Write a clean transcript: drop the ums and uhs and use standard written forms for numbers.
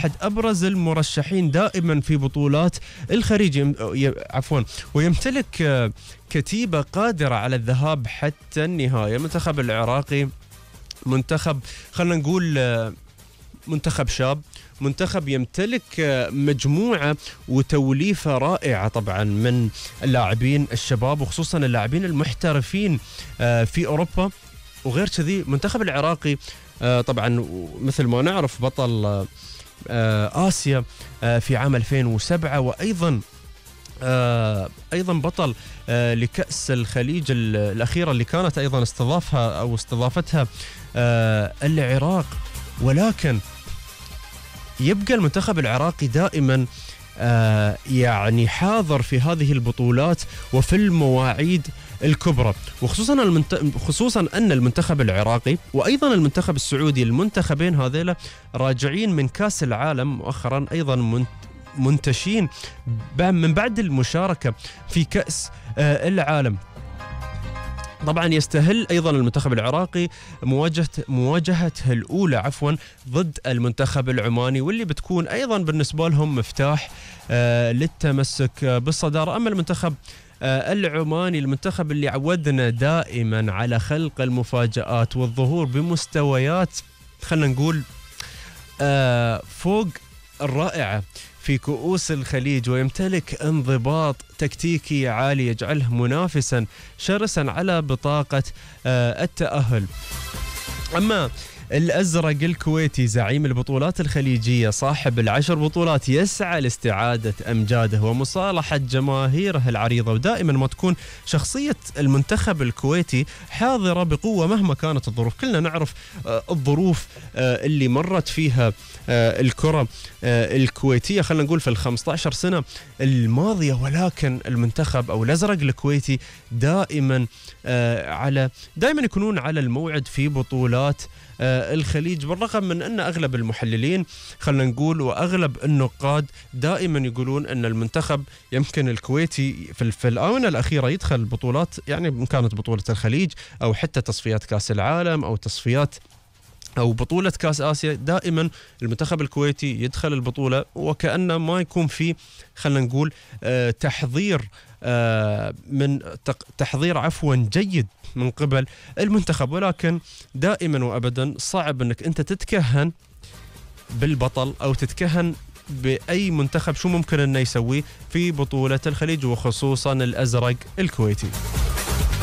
أحد أبرز المرشحين دائما في بطولات الخليج، ويمتلك كتيبة قادرة على الذهاب حتى النهاية. المنتخب العراقي منتخب، خلنا نقول منتخب شاب، منتخب يمتلك مجموعة وتوليفة رائعة طبعا من اللاعبين الشباب، وخصوصا اللاعبين المحترفين في أوروبا. وغير كذي منتخب العراقي طبعا مثل ما نعرف بطل آسيا في عام 2007، وأيضا بطل لكأس الخليج الأخيرة اللي كانت أيضا استضافتها العراق. ولكن يبقى المنتخب العراقي دائما يعني حاضر في هذه البطولات وفي المواعيد الكبرى، خصوصا أن المنتخب العراقي وأيضا المنتخب السعودي، المنتخبين هذيلا راجعين من كأس العالم مؤخرا، أيضا منتشين من بعد المشاركة في كأس العالم. طبعا يستهل أيضا المنتخب العراقي مواجهته الأولى ضد المنتخب العماني، واللي بتكون أيضا بالنسبة لهم مفتاح للتمسك بالصدارة. أما المنتخب العماني، المنتخب اللي عودنا دائما على خلق المفاجآت والظهور بمستويات خلنا نقول فوق الرائعة في كؤوس الخليج، ويمتلك انضباط تكتيكي عالي يجعله منافسا شرسا على بطاقة التأهل. أما الأزرق الكويتي زعيم البطولات الخليجية صاحب ال10 بطولات يسعى لاستعادة أمجاده ومصالحة جماهيره العريضة، ودائما ما تكون شخصية المنتخب الكويتي حاضرة بقوة مهما كانت الظروف. كلنا نعرف الظروف اللي مرت فيها الكرة الكويتية خلينا نقول في ال15 سنة الماضية، ولكن المنتخب أو الأزرق الكويتي دائما يكونون على الموعد في بطولات الخليج، بالرغم من أن أغلب المحللين خلنا نقول وأغلب النقاد دائما يقولون أن المنتخب يمكن الكويتي في الآونة الأخيرة يدخل بطولات، يعني إن كانت بطولة الخليج أو حتى تصفيات كأس العالم أو تصفيات أو بطولة كأس آسيا، دائما المنتخب الكويتي يدخل البطولة وكأنه ما يكون في خلنا نقول تحضير جيد من قبل المنتخب. ولكن دائما وأبدا صعب أنك أنت تتكهن بالبطل أو تتكهن بأي منتخب شو ممكن أنه يسويه في بطولة الخليج، وخصوصا الأزرق الكويتي.